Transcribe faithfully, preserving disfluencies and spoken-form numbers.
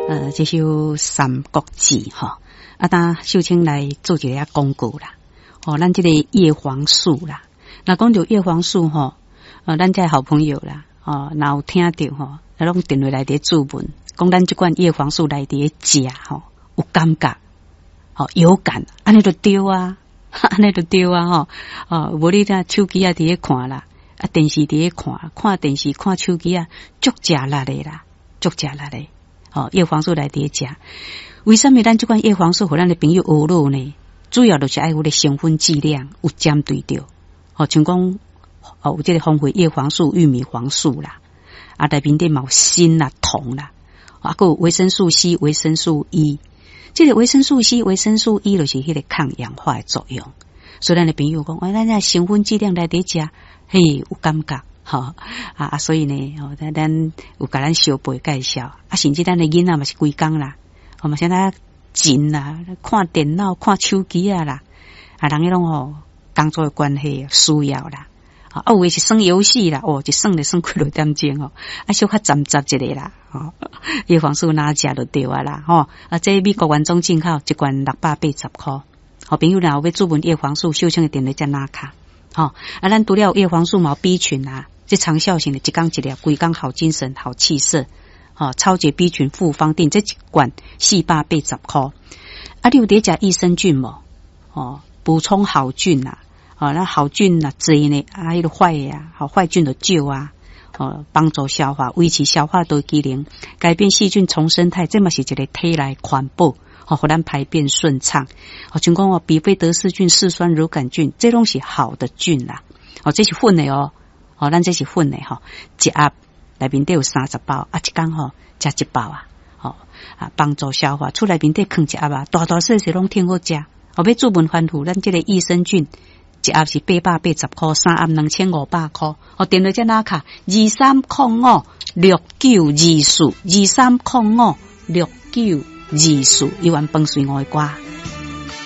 呃，這首《三國志》吼，啊，當秀清來做一个廣告啦。哦，咱這個葉黃素啦，若講著葉黃素吼，呃，咱這好朋友啦，哦，若有聽著吼，攏電話來佇諮問，講咱這罐葉黃素來佇食吼，有感覺，吼有感，按呢就對啊，按呢就對啊，吼，哦，無你聽手機仔佇咧看啦，啊，電視佇咧看，看電視看手機仔，足食力的啦，足食力的，吼，葉黃素來佇咧食，為啥物咱這罐葉黃素予咱的朋友學落呢？主要就是愛有個成分劑量有針對著，吼，像講哦有這個豐富葉黃素、玉米黃素啦，啊內面底嘛有鋅啦、銅啦，啊閣有維生素 C、維生素 E，這個維生素 C、維生素 E 就是彼個抗氧化的作用。所以咱的朋友講，哎，咱這成分劑量來佇食，嘿，有感覺，吼啊啊，所以呢，吼咱咱有共咱相背介紹，啊，甚至咱的囡仔嘛是規工啦，我嘛現在真啦，看電腦、看手機啊啦，啊，人彼攏吼工作的關係需要啦，啊，有的是耍遊戲啦，哦，一耍就耍幾落點鐘哦，啊，小可暫暫一下啦，吼，葉黃素若食就對啊啦，吼，啊，這美國原裝進口一罐六百八十箍，好朋友若有欲諮問葉黃素，秀清的電話才拿卡，吼，啊，咱除了葉黃素嘛有 B 群啊，這長效型的，一工一粒，規工好精神、好氣色。吼，超級 B 群複方錠，這一罐四百八十箍。啊，你有佇食益生菌無？哦，補充好菌啊，哦，那好菌若濟呢，啊，彼個壞啊，好壞菌就少啊，哦，幫助消化，維持消化道機能，改變細菌叢生態，這嘛是一個體內環保，吼，予咱排便順暢。哦，像講哦，比菲德氏菌、嗜酸乳桿菌，這攏是好的菌啦。哦，這是粉的哦，哦，咱這是粉的吼，一盒內面底有三十包，啊，一工吼食一包啊，吼啊，幫助消化。厝內面底囥一盒啊，大大細細攏挺好食。後欲諮問番咐，咱這個益生菌一盒是八百八十箍，三盒兩千五百箍。哦，電話這拿卡二三空五六九二四，二三空五六九二四，一碗飯隨我的歌。